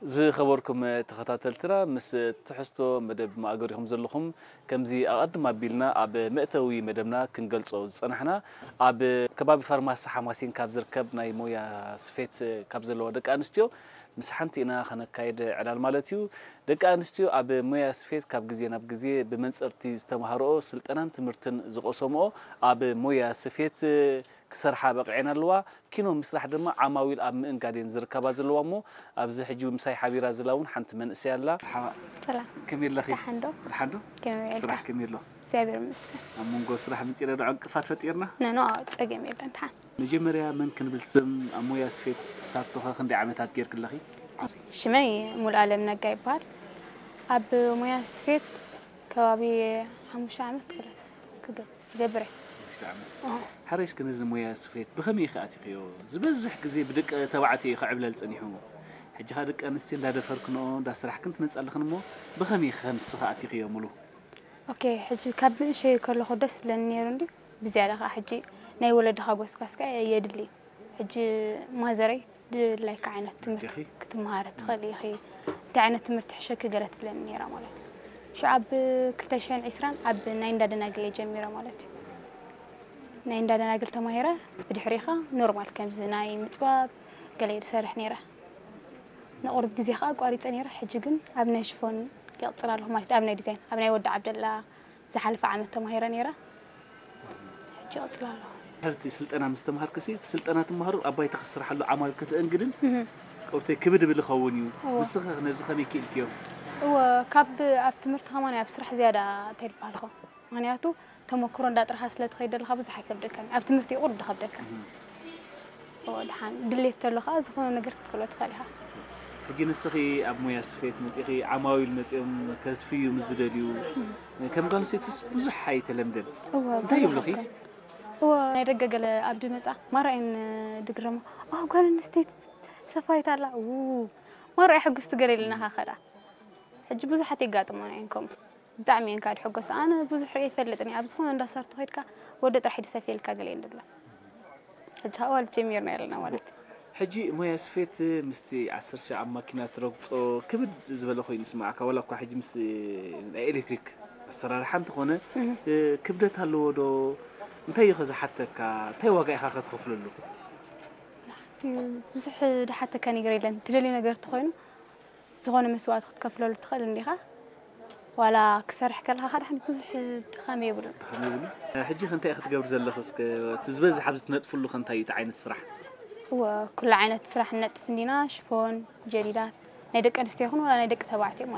ዝኸበርኩም ተኸታተልትና፣ ምስ ትሕዝቶ መደብ ማእገር ኢኹም ዘለኹም። ከምዚ ኣቐድም ኣቢልና ኣብ መእተዊ መደብና ክንገልጾ ዝጸናሕና፣ ኣብ ከባቢ ፋርማሲ ሓማሴን ካብ ዝርከብ ናይ ሞያ ስፌት ካብ ዘለዋ ደቂ ኣንስትዮ ምስ ሓንቲ ኢና ከነካይድ ዕላል ማለት እዩ። ደቂ ኣንስትዮ ኣብ ሞያ ስፌት ካብ ግዜ ናብ ግዜ ብመንጸርቲ ዝተማሃርኦ ስልጠናን ትምህርትን ዝቐሰምኦ ኣብ ሞያ ስፌት ክሰርሓ በቒዐን ኣለዋ። ኪኖ ምስራሕ ድማ ዓማዊል ኣብ ምእንጋድ እየን ዝርከባ ዘለዋ እሞ፣ ኣብዚ ሕጂ ምሳይ ሓቢራ ዘላ እውን ሓንቲ መንእሰይ ኣላ። መርሓባ። ሰላም። ከመይ ኣለኺ? ደሓን ዶ? ደሓን ዶ? ከመይ ስራሕ ውዒልካ? ከመይ ኣሎ? እግዚኣብሔር ይመስገን። ኣብ መንጎ ስራሕ ምጺና ዶ ዕንቅፋት ፈጢርና? ኖ፣ ኖ፣ ጸገም የለን፣ ደሓን። መጀመርያ መን ክንብል ስም፣ ኣብ ሞያ ስፌት ሳቶኸ ክንደይ ዓመታት ጌርኪ ኣለኺ? ሽመይ ሙሉኣለም ነጋ ይበሃል። ኣብ ሞያ ስፌት ከባቢ ሓሙሽተ ዓመት ክለስ ክገ-፣ ክገብር እየ። ሓሙሽተ ዓመት። ኣዎ። ሓራይ እስከ ነዚ ሞያ ስፌት ብኸመይ ኢኺ ኣቲኽዮ? ዝበዝሕ ግዜ ብደቂ ተባዕትዮ እዩ ክዕብለል ጸኒሑ። ሕጂ ኸኣ ደቂ ኣንስትዮ እንዳደፈርክንኦ፣ እንዳስራሕክን ትመጻ ኣለኽን እሞ፣ ብኸመይ ኢኺ ንስኺ ኣቲኽዮ ሙሉ? ኦኬ፣ ሕጂ ካብ ንእሸይ ከለኹ ደስ ብለኒ ነይሩ እንድዩ። ብዝያዳ ኸኣ ሕጂ ናይ ወለድኻ ጎስጓስ ከኣ የድሊ። ሕጂ ማዘረይ ድላይካ ዓይነት ትምህርቲ ዲኺ? ክትመሃር ትኽእል ኢኺ፣ እንታይ ዓይነት ትምህርቲ ሕሸኪ ገለ ትብለኒ ነይራ ማለት እዩ። ሽዑ ኣብ ክልተ ሽሕን ዕስራን ኣብ ናይ እንዳ ደናግል እየ ጀሚረ ማለት እዩ። ናይ እንዳ ደናግል ተማሂረ፣ ብድሕሪኻ ኖርማል ከምዚ ናይ ምጽባብ ገለ እየ ዝሰርሕ ነይረ። ንቑሩብ ግዜ ኸኣ ኣቋሪጸ ነይረ፣ ሕጂ ግን ኣብ ናይ ሽፎን ይቕጽል ኣለኹ ማለት እዩ፣ ኣብ ናይ ዲዛይን፣ ኣብ ናይ ወዲ ዓብደላ ዝሓለፈ ዓመት ተማሂረ ነይረ። ሕጂ ይቕጽል ኣለኹ። ድሕርቲ ስልጠና ምስ ተምሃርክሲ፣ እቲ ስልጠና ትምሃሩ ኣብ ባይታ ክትስርሓሉ ዓማዊል ከተእንግድን እህ። ቁርተይ ክብድ ብል ይኸውን እዩ። እወ። ንስኺ ነዚ ከመይ ክኢልክዮ? እወ፣ ካብ ኣብ ትምህርቲ ከማን ኣብ ስራሕ ዝያዳ እንታይ ይበሃል ኸ? ምኽንያቱ ተመክሮ እንዳጥረኻ ስለ ትኸይድ ዘለኻ ብዙሕ ኣይከብደካን። ኣብ ትምህርቲ እዩ ቁሩብ ዝኸብደካ። እህ። እወ፣ ደሓን ድሌት ተሎ ኸኣ ዝኾነ ነገር ክትክእሎ ትኽእል ኢኻ። ሕጂ ንስኺ ኣብ ሞያ ስፌት መጺኺ፣ ዓማዊል መጺኦም ከስፍዩ ምስ ዝደልዩ፣ ከም ጓል ኣንስተይትስ ብዙሕ ኣይተለምደን። እወ፣ እንታይ ብዙሕ ይብሉኺ? ኣይኮን። እወ፣ ናይ ደገ ገለ ኣብ ድመጻ ማራ እየን ድግረማ። "ኦ፣ ጓል ኣንስተይቲ ሰፋይት ኣላ። ው፣ ማራ ሕጉስቲ ገለ ኢልና ኸኸዳ." ሕጂ ብዙሓት የጋጥሞና እየን ከምኡ። ብጣዕሚ እየን ካብ ድሕጎሳ። ኣነ ብዙሕ ርእየ ይፈልጥን እየ። ኣብ ዝኾነ እንዳ ሳርቶ ኸይድካ ወዲ ጥራሕ እዩ ዝሰፍየልካ ገለ እየን ድብላ። ሕጂ ኸኣ ዋላ ጀሚርና ኣለና ማለት እዩ። ሕጂ ሞያ ስፌት ምስቲ ዓሰርተ ሻዕ ኣብ ማኪና ትረግጾ ክብድ ዝበለ ኮይኑ ይስምዓካ፣ ዋላ እኳ ሕጂ ምስ ናይ ኤሌክትሪክ ኣሰራርሓ እንተኾነ፣ እህ። እ፣ ክብደት ኣለዎ ዶ? እንታይ እዩ ከ ዝሓተካ? እንታይ ዋጋ ኢኻ ከ ትኸፍለሉ? ብዙሕ ዝሓተካ ነገር የለን። ትደልዮ ነገር እንተኾይኑ ዝኾነ መስዋእቲ ክትከፍለሉ ትኽእል እንዲኻ። ዋላ ክሰርሕ ከለኻ ኸኣ ደሓን ብዙሕ ድኻም የብሉን። ድኻም የብሉን። ሕጂ ከ እንታይ ኢኺ ትገብሪ ዘለኺ? እስከ እቲ ዝበዝሕ ኣብዚ ትነጥፍሉ ከ እንታይ እዩ እቲ ዓይነት ስራሕ? እወ፣ ኩሉ ዓይነት ስራሕ ንነጥፍ እንዲና፣ ሽፎን፣ ጀዲዳት፣ ናይ ደቂ ኣንስትዮ ይኹን ዋላ ናይ ደቂ ተባዕትዮ ማለት እዩ።